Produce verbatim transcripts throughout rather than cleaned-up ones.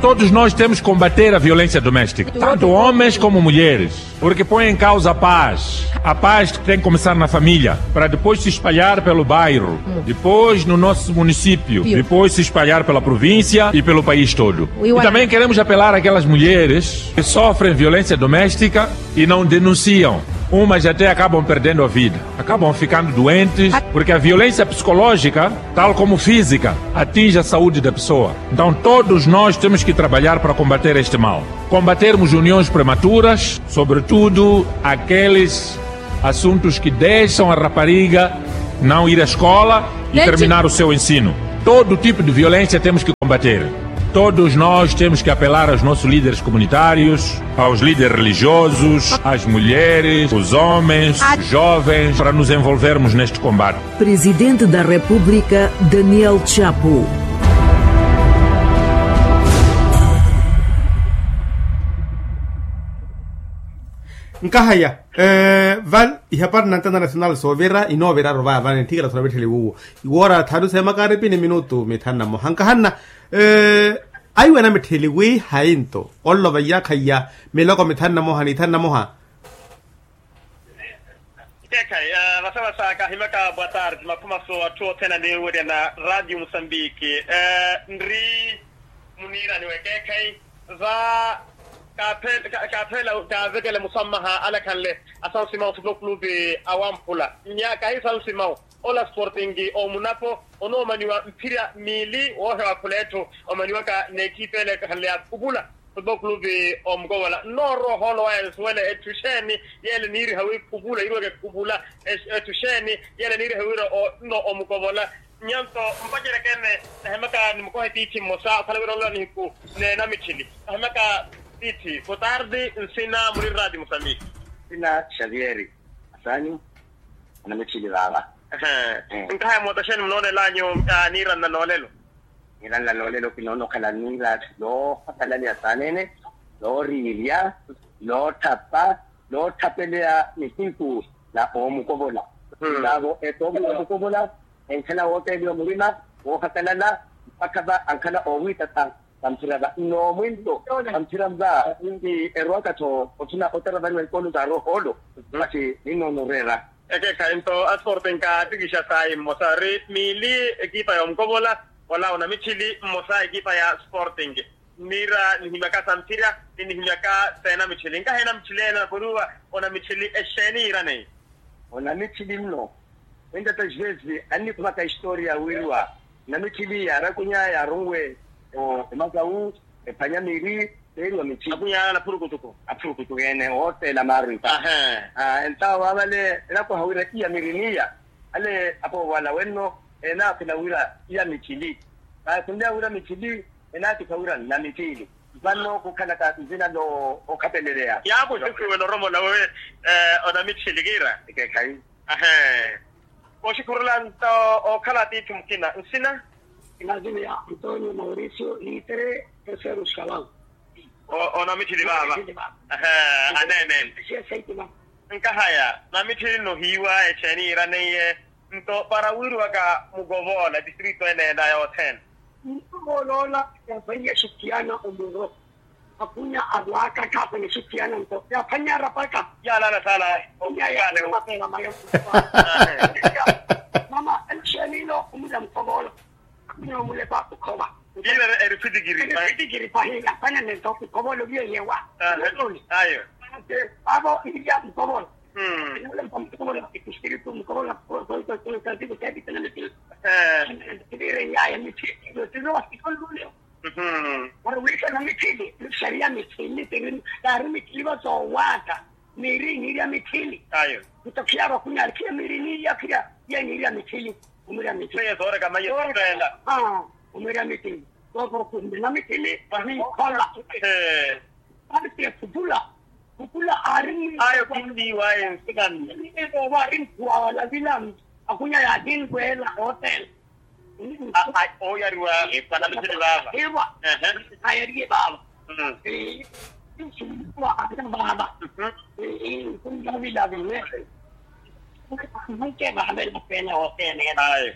Todos nós temos que combater a violência doméstica, tanto homens como mulheres, porque põe em causa a paz. A paz tem que começar na família, para depois se espalhar pelo bairro, depois no nosso município, depois se espalhar pela província e pelo país todo. E também queremos apelar àquelas mulheres que sofrem violência doméstica e não denunciam. Umas até acabam perdendo a vida, acabam ficando doentes, porque a violência psicológica, tal como física, atinge a saúde da pessoa. Então, todos nós temos que trabalhar para combater este mal. Combatermos uniões prematuras, sobretudo aqueles assuntos que deixam a rapariga não ir à escola e terminar o seu ensino. Todo tipo de violência temos que combater. Todos nós temos que apelar aos nossos líderes comunitários, aos líderes religiosos, às mulheres, os homens, os jovens, para nos envolvermos neste combate. Presidente da República, Daniel Chapo. Nkahaya, vale ihapari na antena nacional soovira inooviraru vaya vale nthikela sona vittheli wuwo. Iwoora thanu seemaka aripini minutu mithanu na moha nkahanna. Aiwena mittheli wi hayi nto onlova iyaakha iya miloko mithanu na moha ni ithanu na moha. Keekhayi vasavasa kaahimaka bwataari ti makhumaso atthu othene aniiwerya na radio musambiki. Nri muniirani wekeekhayi va kaaphela kaavekele musammaha alakhanle asansimawu futebol clube awamphula nya kahi sansimawu ola sportingi omunapo onoomaniwa mphirya miili woohewa khula etthu omaniwaka n'ekipa ele ekhanle ya khupula. Futebol clube omukovola nnoorowa ohoolo waya nsuwele etthu exeeni yeele niiriha wi khupula iruweke khupula. Etthu exeeni yeele niiriha wira nno omukovola. Nyanto mpacerekene nahemaka nimukohe tiithi mmosa okhala wira olola nihiku n'enamitthili nahemaka tiithi kutardi nsina muri radi musambiki. Nsina xavieri asanyu. Anamitthili vaava. Nkahaya mootaxeni munoonelanyu niira nna noolelo. Niira nna noolelo kinoona okhala niira yoohakalaliha saanene yooriirya yootthapa yootthapeleya nihiku na oomukovola. Vaavo etoomukovola enkhala wooteeliwa murima woohakalala mpakha va ankhala oowiitatha. Vamphira va nnoomwinto vamphira va erwaka-tho othuna otaravariwa ekolo za rohoolo. Masi ninnoona oreera. Ekeekhayi nto asporte nkaatikisha sayi mmosa ri miili ekipa ya omukovola ola onamitthili mmosa ekipa ya sporting. Niira nihimyaka samphira ni nihimyaka seenamitthili nkahi enamitthili ena naporuwa onamitthili exeeni yiiraneiye. Onamitthili nno. Entata jezi annikhumaka historia wiiriwa namitthili yaarakunya yaarunwe omakawu ephwanya miiri teeriwa mitthili. Akunya ala aphurukutuku aphurukutuku ene wooteela maaru ipa. Entawo waavale elakoha wira iya miiri niya ale apoowala wenno enaakhula wira iya mitthili. Vaakhunleya wira mitthili enaatikha wira namitthili. Vano khukhalaka nzina no okhapeleleya yaakuxuxiwela oromola we onamitthili kiira. Ekekhayi. Ahe. Oxikhurula nto okhala atiithi mukina nsina. Inazini ya antonio mauricio litre terceiro escalão. Onamitthili vaava. Ahe. Aneene. Nkahaya namitthili nohiiwa exeeni yiiraneiye nto para wiiriwaka mukovoola distrito eneena yothene. Mukovoola ola yaphwaiye xitiyana omuro. Akhunya arwaaka khaaphwanya exitiyana nto yaaphwanya arapaka. Yaalala saala. Mama elixeenino omulya mukovoolo. Akhunya omulepa okhova. Kiira eri fitikiri fitikiri pahi yaaphwanya nento mukovoolo viyeyewa. Ayo. Paavo ilya mukovoolo. Mukovoolo espiritu mukovoolo. Tiviire yaya mithiiyo tiviwa sikolulyo. Ori wiikela mitthili nixariya mitthili kaari mitthili va soowaata. Miiri niirya mitthili. Ayo. Nto khiya vakhunya ari khiya miiri niiya khiya iya niirya mitthili. Omwiirya mitthili. Seye sooreka maye soorela. Omwiirya mitthili. Sookoro khumela mitthili vahinkhola. Ari siya khutula. Khutula ari ayo khundiiwaye nsikanne. Ari nkhuwa wala vilami. Akhunya yaahinrweela ootela. Ooyariwa vanamitthili vaava. Ewa. Ayariye vaava. Nsuwa ata vaava. Nkunlavila vene. Nkuke vaavela pene ootene. Ayo.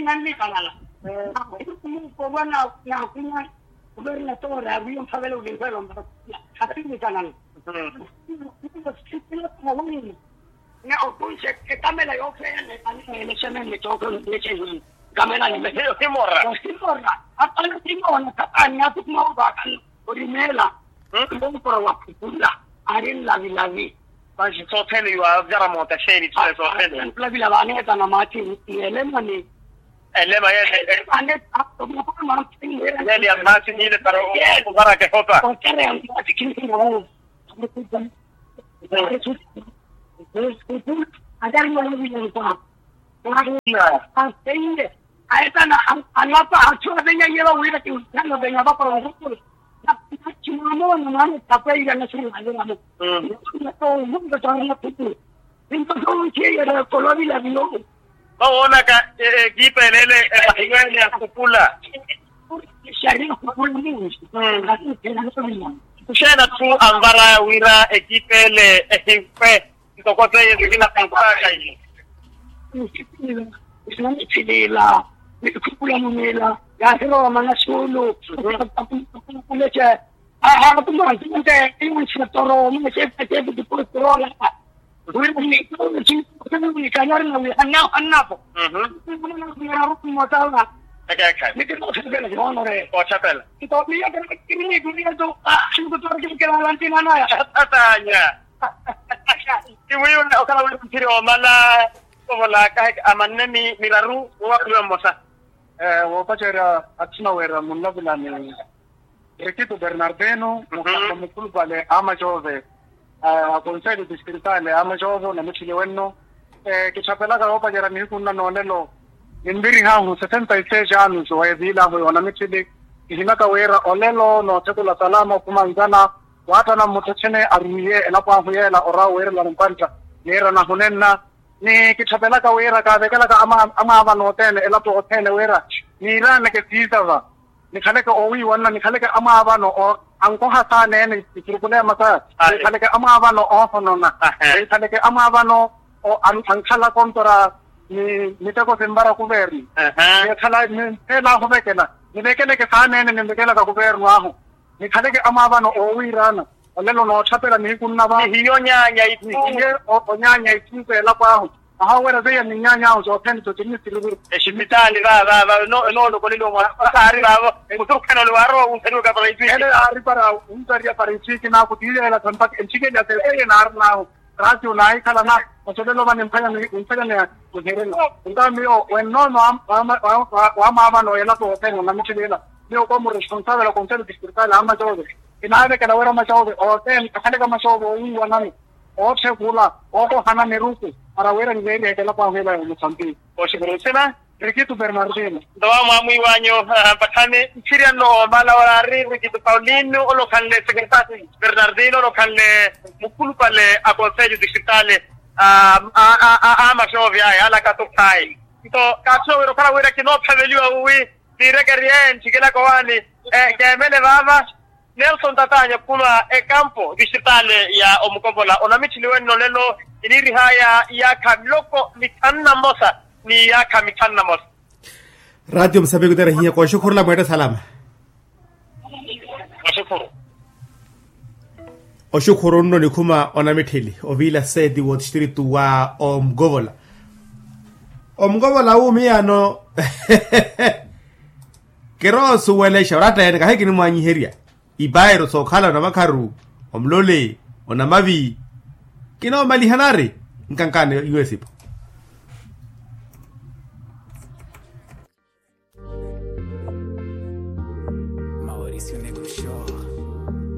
Nannikanana. Nakunya kuvernatora awiyo mphavela ulimphelo mbakunya. Asinnikanana. Ne okunxe ekamela yoofeya nepanelexemene tooke nexeni. Kamela ni hiyo simora. Simora. Apana simona kapani atukuma ovakana. Orimela. Mpompora wa khukula ari nlavilavi. Vanci sothene yuwa vyara moota xeeni tule sothene. Nlavilavi aneetana maati. Ni elemani. Elema yene. Yene ya maati nile para ovaraka ehopa. Aetana anlapa athu avenya yelo wira kinsano venya vakola nkhukulu. Nachimamoona mwana tapeira nasinaliramo. Nto sonse yere kolovilavilo. Vawoonaka ekipa ele ele evahiwene ya khukula. Xari khukula munji. Kuxeena-tho anvaraya wira ekipa ele ehimpe. Ntoko seiye sikina kampaka iye. Sinamithilila nikhukula munila. Yahiroma na sulu. Kuleca. Aha kumanti nte iwisi toro mune sefe sefe dipostorola. Wiri ni kanyari na wi hanna hannapo. Motala. Ekekhe. Nitino sibela honore ochapela. Nto miya kiri ni dunia to. Sinikutora kiri kira lantina naya. Atanya. Iwiyo okhala wira nthiri omala. Ovolaka amanne ni miraru wowakhuliwa mmosa. Woopacerya athima wira munlavilani. Rikito bernardino mukhamba mukhulupale a macove. A konselho distritale a macove onamitthili wenno. Kitthapelaka yoopacerya nihiku nna noolelo. Ninvirihahu sesenta y seis anos weeviilahu yoonamitthili. Kihinaka wira olelo noothekula salama okhumanzana. Waattana mmutthu echene arumiye elapo ahu yeela orawa weerelani mpantta. Niirana hunenna. Ni kitthapelaka wira kaavekelaka amwaavano othene elapo othene wira niiraaneke siisava. Nikhaleke oowiiwanna nikhaleke amwaavano ankoha saaneene isurukule ya masaya. Nikhaleke amwaavano oohonona. Nikhaleke amwaavano ankhala kontora ni miteko sinvara kuvernu. Nikhala nintheela ahuvekela nivekeleke saaneene ninvekelaka kuvernu ahu. Nikhaleke amwaavano oowiiraana. Olelo nootthaphela nihiku nnava. Ihiyo nyaanya ituuke. Onyaanya ituuke elapo ahu. Ahawerya zeiya ni nyaanya ahu soothene sotinni siriviri. Exipitaali vaavava noolokoleliwa mwaari vaavo. Muturukhana ole waarowa wuntheriwaka para ituuke ele aari para wuntheriya para ituuke naaku tiiyeela sampaka enthikeliya seiye naarinaahu. Raati onaahikhalana. Osolelo vani mphanya mphanya. Muherela. Nta miyo wennoono wamwaavano yelapo othene onamitthili ela. Miyo komu responsavela konselho distritale a macove. Kinaavekela wira macove othene akhaleke macove owiiwanani. Ootthekula ookohana miruku para wira niveeriheke elapo ahu ela ya omusambiki. Oxukuru nsina. Rikito bernardino. Nto wamwaamwiiwanyu. Mpatthani nthiryanno omala oraari rikito paulino olokhanle secretary bernardino olokhanle mukhulupale a konselho distritale. A masovi aya alaka tokhayi. Nto kaatthuna wira okhala wira kinoophaveliwa uwi. Niirekerye nthikelaka owaani. Keemele vaava. Nelson tatanya khulwa ekampo distritale ya omukopola onamitthili wenno lelo. Iniirihaya iyaakha miloko mithanu na mmosa ni iyaakha mithanu na mmosa. Ratio musambiki oterehiya kooxukhurula mweette salama. Oxukhuru. Oxukhuru nno nikhuma onamitthili oviila seeti wootistritu wa omukopola. Omukopola wuumiyano. Kiroosuwelexa oratta-ene kahi kinimwaanyiherya. Ipayiro sookhala onamakharu omulole onamavi. Kinoomaliha nari nkankaani yuwesipo.